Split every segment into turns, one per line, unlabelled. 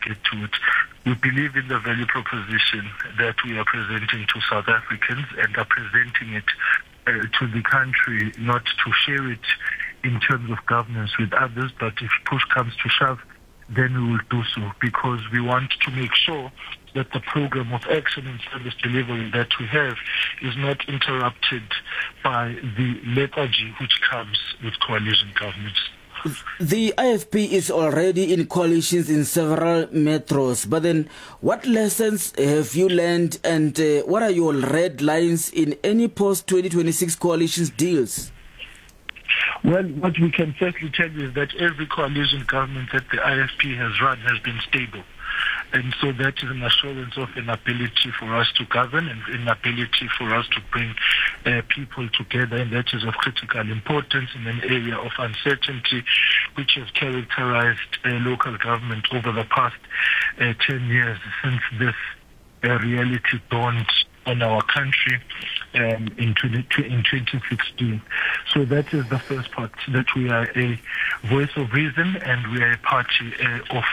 get to it. We believe in the value proposition that we are presenting to South Africans and are presenting it to the country, not to share it in terms of governance with others, but if push comes to shove, then we will do so, because we want to make sure that the program of action and service delivery that we have is not interrupted by the lethargy which comes with coalition governments.
The IFP is already in coalitions in several metros, but then what lessons have you learned, and what are your red lines in any post-2026 coalitions deals?
Well, what we can certainly tell you is that every coalition government that the IFP has run has been stable. And so that is an assurance of an ability for us to govern and an ability for us to bring people together, and that is of critical importance in an area of uncertainty which has characterized local government over the past 10 years since this reality dawned on our country in 2016. So that is the first part, that we are a voice of reason and we are a party of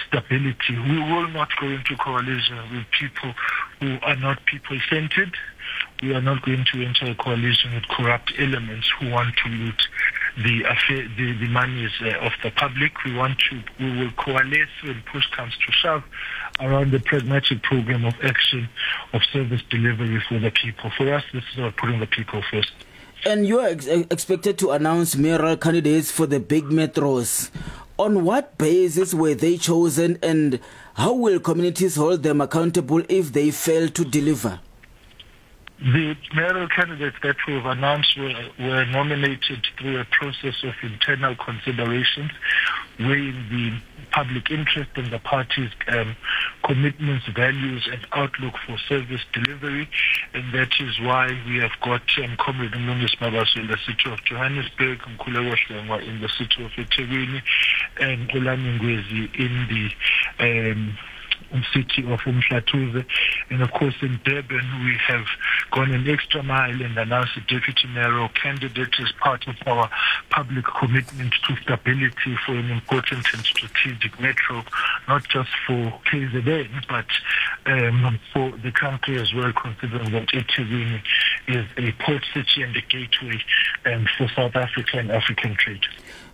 stability. We will not go into coalition with people who are not people-centered. We are not going to enter a coalition with corrupt elements who want to loot the monies of the public. We will coalesce when push comes to shove around the pragmatic program of action of service delivery for the people. For us, this is about putting the people first.
And you are expected to announce mayoral candidates for the big metros. On what basis were they chosen, and how will communities hold them accountable if they fail to deliver?
The mayoral candidates that we've announced were nominated through a process of internal considerations, weighing the public interest and the party's commitments, values, and outlook for service delivery. And that is why we have got Comrade Mlungisi Mabaso in the city of Johannesburg, Mkhuleko Hlengwa in the city of eThekwini, and Xolani Ngwezi in the city of Umhlathuze. And of course in Durban we have gone an extra mile and announced a deputy mayoral candidate as part of our public commitment to stability for an important and strategic metro, not just for KZN but for the country as well, considering that eThekwini is a port city and a gateway for South Africa and African trade.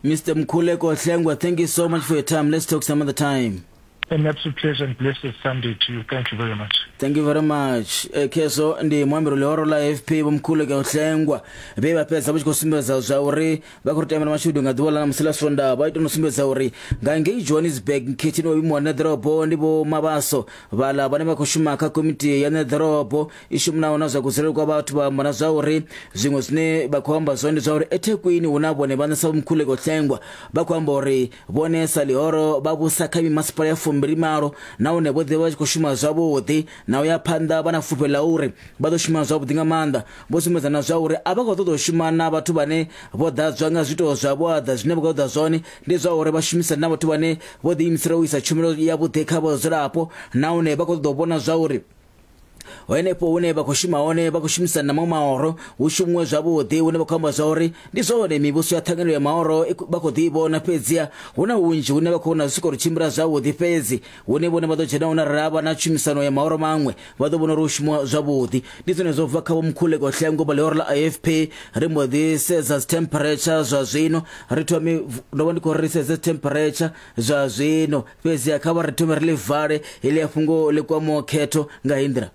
Mr. Mkhuleko Hlengwa, thank you so much for your time. Let's talk some other time.
An absolute pleasure and blessed Sunday to you. Thank you very much.
Thank you very much. Khezwo ndi muambeli ḽihoro ḽa AFP Vho Mkhuleko Hlengwa vhe vha fhedza vha tshi khou sumbedza zwa uri vha khou ri tamela mashudu nga ḓuvha ḽa ṋamusi ḽa Swondaha. Vha ita no sumbedza uri nga ngei Johannesburg nkhetheni wa vhuimo ha ṋeḓorobo ndi Vho Mabaso vhaḽa vhane vha khou shuma kha komiti ya ṋeḓorobo i shumanaho na zwa kudzulele kwa vhathu, vha amba na zwa uri zwiṅwe zwine vha khou amba zwone ndi zwa uri eThekwini hu na vhone vhaṋe sa Vho Mkhuleko Hlengwa vha khou amba uri Vhone sa ḽihoro vha vhusa kha mimasipala ya 28 nahone vho ḓivha vha tshi khou shuma zwavhuḓi na u ya phanḓa vha na fulufhelo ḽa uri vha ḓo shuma zwavhuḓi nga maanḓa. Vho sumbedza na zwa uri a vha khou ṱoḓa u shuma na vhathu vhane vho ḓadzwa nga zwiito zwa vhuaḓa, zwine vha khou ṱoḓa zwone ndi zwa uri vha shumisane na vhathu vhane vho ḓiimisela u isa tshumelo yavhuḓi kha vhadzulapo nahone vha khou ṱoḓa u vhona zwa uri Henefho hune vha khou shuma hone vha khou shumisana na maṅwe mahoro hu shumiwe zwavhuḓi, hune vha khou amba zwa uri ndi zwone mivhuso ya ṱhanganelo ya mahoro vha khou ḓi vhona, fhedziha hu na hunzhi hune vha khou vhona zwi si khou tshimbila zwavhuḓi, fhedzi hune vhone vha ḓo dzhena hone arali ha vha na tshumisano ya mahoro maṅwe vha ḓo vhona uri hu shumiwa zwavhuḓi. Ndi zwone zwo bva kha Vho Mkhuleko Hlengwa vha ḽihoro ḽa IFP. Ri mbo ḓi sedza dzi temperature zwa zwino, ri thome ndo vha ndi khou ri sedze temperature zwa zwino. Fhedziha kha vha ri thome ri ḽi vale heḽia fhungo ḽi kwamaho khetho nga heyi nḓila.